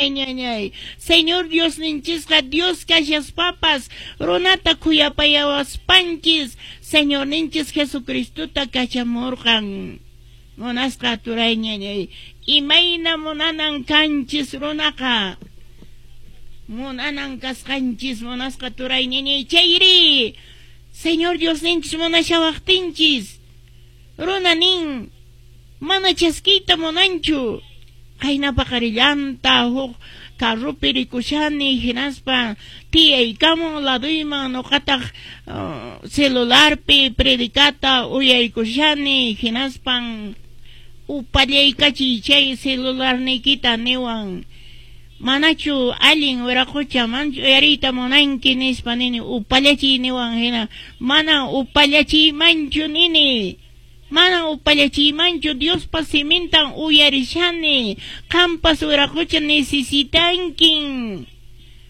turay ñañay. Señor Diosninchisqa Dios kashaspapas runata khuyapayawaspanchis Señorninchis Jesucristota kachamurqan. Munasqa turay ñañay, imayna munanan kanchis runaqa. Munanan kasqanchis munasqa turay ñañay chayri. Señor Diosninchis munashawaqtinchis. Runa nin, mana chaskiyta munanchu. Qayna paqarillanta huk carropi rikushani hinaspa tiyaykamun laduyman nuqataq celularpi predicata uyaykushani hinaspan upallaykachiy chay celularniykita niwan. Manachu allin wiraqucha manchu uyariyta munanki nispa nini upallachiy niwan hina mana upallachiymanchu nini. Mana upallachiymanchu Diospa simintan uyarishani. Qampas wiraqucha necesitankin.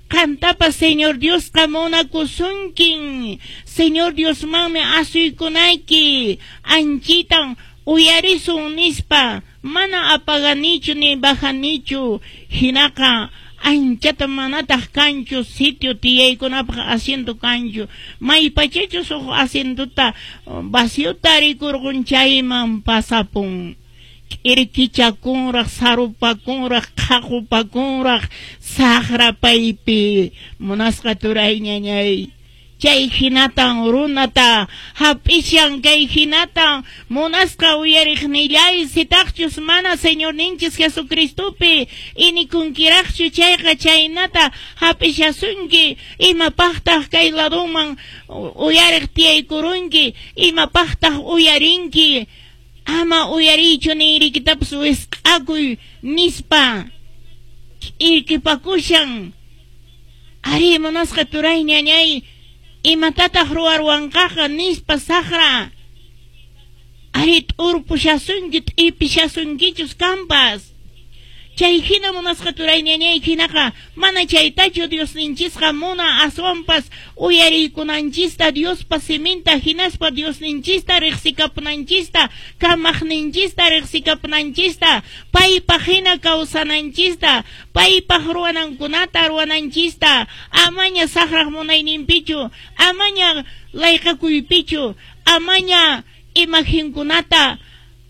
Qantapas Señor Diosqa munakusunkin. Señor Diosmanmi asuykunayki. Anchitan uyarisun nispa. Mana apaganichu ni bajanichu. Hinaqa anchata manataq kanchu sitio tiyaykunapaq asiento kanchu. Maypachachus huk asientota vaciota rikurqun chayman pasapun. K'irkichakunraq, sarupakunraq, qhaqupakunraq, saqra paypi. Munasqa turay ñañay. Chay hinatan runata hap'ishan kay hinatan munasqa uyariqnillay sitaqchus mana Señorninchis Jesucristopi inikunkiraqchu chayqa chaynata hap'ishasunki imapaqtaq kay laduman uyariq tiyaykurunki imapaqtaq uyarinki ama uyariychu ninrikitapas wisq'akuy nispa k'irkipakushan. Ari munasqa turay ñañay imatataq ruwarwanqaqa nispa saqra. Ari t'urpushasunki t'ipishasunkichus kanpas. Chay hina munasqa turay ñañay hinaqa mana chaytachu Diosninchisqa muna aswanpas uyariykunanchista Diospa siminta hinaspa Diosninchista riqsikapunanchista kamaqninchista riqsikapunanchista paypaq hina kawsananchista paypaq ruwanankunata ruwananchista amaña saqraq munayninpichu amaña layqakuypichu amaña imaginkunata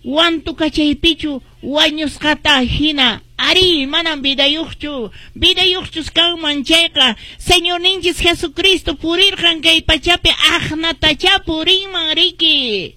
wantukachaypichu wañusqata hina. Ari, manam vidayuqchu, vidayuqchus kanman chayqa Señorninchis Jesucristo purirqan kay pachapi aqnatacha purinman riki.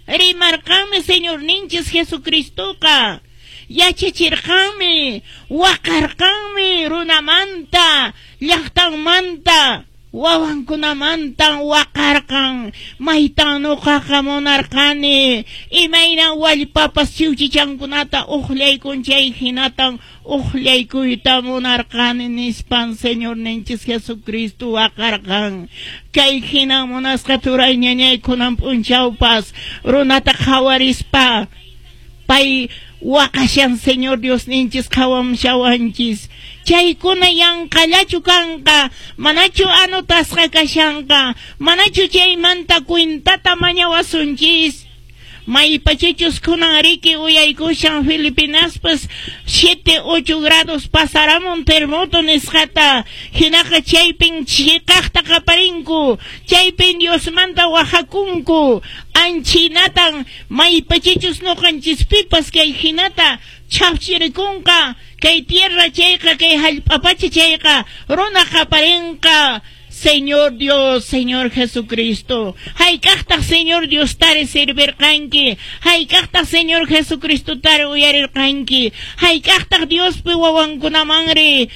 Rimarqanmi Señorninchis Jesucristoqa. Yachachirqanmi, waqarqanmi runamanta, llaqtanmanta, wawankunamantan waqarqan, maytan nuqaqa munarqani, imaynan wallpapas chiwchichankunata uqllaykun chay hinatan uqllaykuyta munarqani nispan Señorninchis Jesucristo waqarqan. Kay hinan munasqa turay ñañaykunan p'unchawpas runata qhawarispa pay waqashan Señor Diosninchis qhawamshawanchis. Chaykuna yanqallachu kanqa, manachu anotasqa kashanqa, manachu chaymanta cuentata mañawasunchis. Maypachachus kunan riki uyaykushan Filipinaspas 7, 8 grados pasaramun terremoto nisqata. Hinaqa chaypin chiqaqta qaparinku, chaypin Diosmanta wajakunku. Anchinatan maypachachus nuqanchispipas kay hinata chhapchirikunqa, kay tierra chayqa, kay hallp'apacha chayqa, runa qaparinqa. Señor Dios, Señor Jesucristo, hayk'aqtaq Señor Dios tari servirqanki, hayk'aqtaq Señor Jesucristo tari uyarirqanki, hayk'aqtaq Diospi wawankunamanri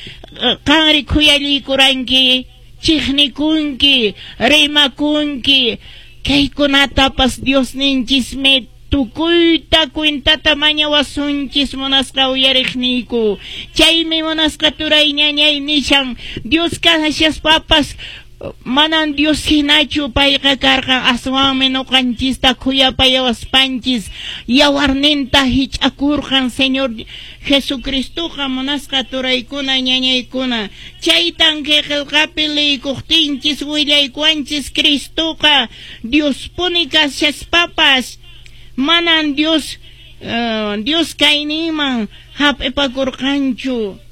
qanri khuyallikuranki, chiqnikunki, rimakunki, kaykunatapas Diosninchismi tukuyta cuentata mañawasunchis munasqa uyariqniyku. Chaymi munasqa turay ñañay nishan Dios kashaspapas manan Dios hinachu payqa karqan aswanmi nuqanchista khuyapayawaspanchis yawarninta hich'akurqan Señor Jesucristoqa munasqa turaykuna ñañaykuna. Chaytan kay qillqapi liykuqtinchis willaykuwanchis Cristoqa Diospuni kashaspapas manan Dios Dios kayninman hap'ipakurqanchu.